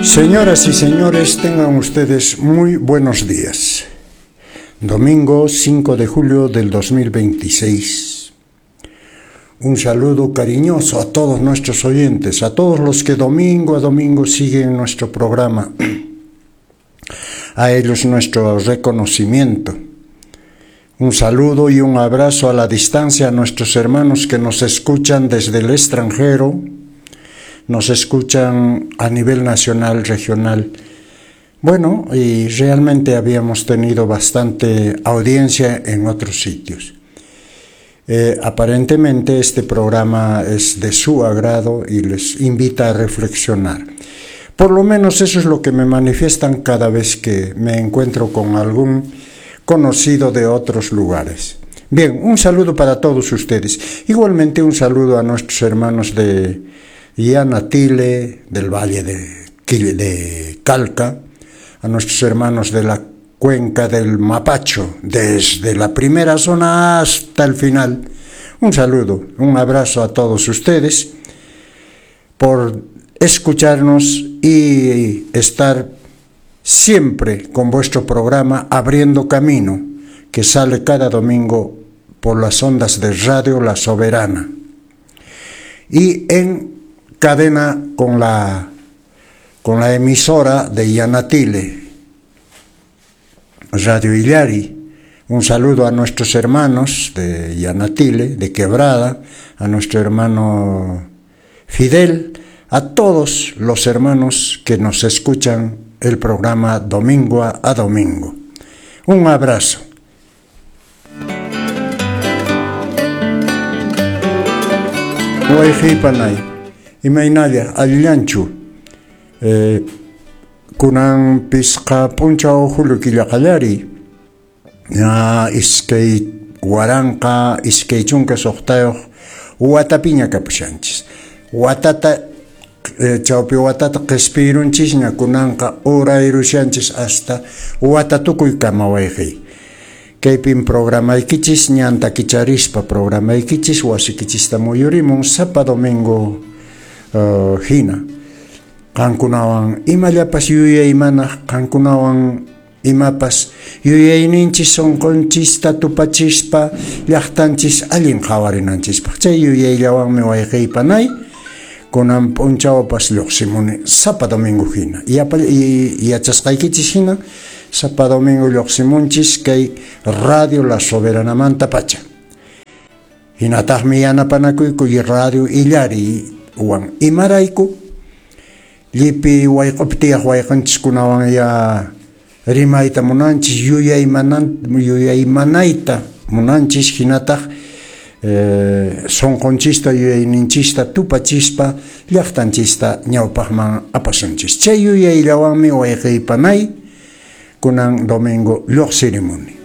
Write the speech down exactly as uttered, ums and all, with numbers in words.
Señoras y señores, tengan ustedes muy buenos días. Domingo cinco de julio del dos mil veintiséis. Un saludo cariñoso a todos nuestros oyentes, a todos los que domingo a domingo siguen nuestro programa. A ellos nuestro reconocimiento. Un saludo y un abrazo a la distancia a nuestros hermanos que nos escuchan desde el extranjero, nos escuchan a nivel nacional, regional. Bueno, y realmente habíamos tenido bastante audiencia en otros sitios. Eh, aparentemente este programa es de su agrado y les invita a reflexionar. Por lo menos eso es lo que me manifiestan cada vez que me encuentro con algún conocido de otros lugares. Bien, un saludo para todos ustedes. Igualmente un saludo a nuestros hermanos de Yanatile, del Valle de, de Calca, a nuestros hermanos de la cuenca del Mapacho, desde la primera zona hasta el final. Un saludo, un abrazo a todos ustedes por escucharnos y estar siempre con vuestro programa Abriendo Camino, que sale cada domingo por las ondas de Radio La Soberana y en cadena con la, con la emisora de Yanatile, Radio Illari. Un saludo a nuestros hermanos de Yanatile, de Quebrada, a nuestro hermano Fidel, a todos los hermanos que nos escuchan el programa domingo a domingo. Un abrazo. Wayqipanay, imaynalla allillanchu. Eh, kunan pisqa p'unchaw julio killa qallariy. Ya iskay waranqa iskay chunka suqtayuq watapiña kapushanchis. Watata eh, chawpi watata qispirunchisña kunanqa urayrushanchis hasta wata tukuykama wayqiy. Kaypin programaykichis ñanta kicharispa programaykichis wasikichista muyurimun sapa domingo uh, hina. Qankunawan imallapas yuyaymanaq, qankunawan imapas yuyayninchis sunqunchista tupachispa llaqtanchis allin qhawarinanchispaq. Chay yuyayllawanmi wayqiypanay kunan p'unchawpas lluqsimuni sapa domingo hina. Yachasqaykichis hina sapa domingo lluqsimunchis kay Radio La Soberanamanta pacha. Hinataqmi yanapanakuyku Radio Illari wan imarayku llipi wayq'upi tiyaq wayqanchiskunawan ya rimayta munanchis, yuyaymanan yuyaymanayta munanchis, hinataq eh, sunqunchista yuyayninchista tupachispa llaqtanchista ñawpaqman apasunchis. Chay yuyayllawanmi wayqiypanay kunan domingo lluqsirimuni.